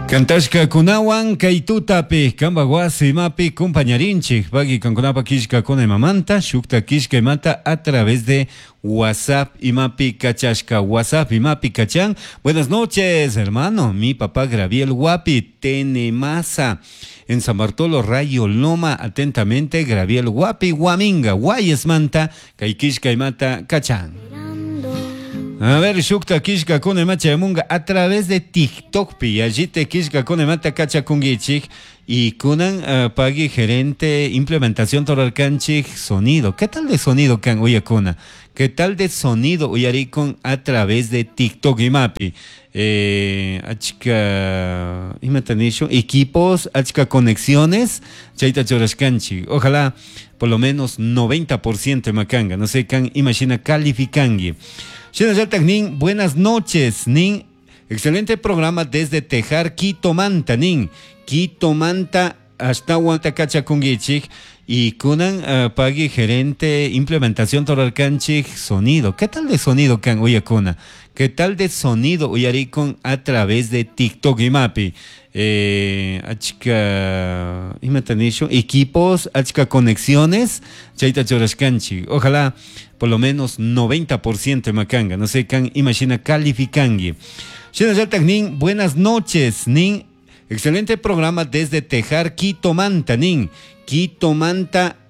Kantashkakunawan kay tutapi kanpak wasi imapi kumpañarinchik pagui kankunapak killkakuna imamanta shukta killka imata a través de WhatsApp imapi kachashka, WhatsApp imapi kachan. Buenas noches, hermano. Mi papá Graviel Guapi Tenemasa en San Bartolo Rayo Loma. Atentamente, Graviel Guapi Guaminga Guayesmanta kay killka imata kachan. A ver, shukta killkakuna ima chayamunga a través de TikTok pi yallita killkakuna imata kachakunkichik y kunan pagui gerente implementación torarkanchik sonido. ¿Qué tal de sonido kan uyakuna? ¿Qué tal de sonido uyarikun a través de TikTok imapi? Achka imata nishun equipos, achka conexiones chayta churashkanchik. Ojalá por lo menos 90% imakanga. No sé, kan imashina calificangi. Shinallatak nin, buenas noches, nin, excelente programa desde Tejar, Quito Manta, nin, Quito Manta, hasta kachakunkichik y kunan pagui gerente implementación torarkanchik sonido. ¿Qué tal de sonido kan uyakuna? ¿Qué tal de sonido uyarikun a través de TikTok imapi? Achka imata nishun equipos, achka conexiones chayta churashkanchik. Ojalá por lo menos 90% imakanga. No sé, kan imashina calificangi. Shinallatak nin, buenas noches, nin, excelente programa desde Tejar, Quito Manta, nin, Quito Manta.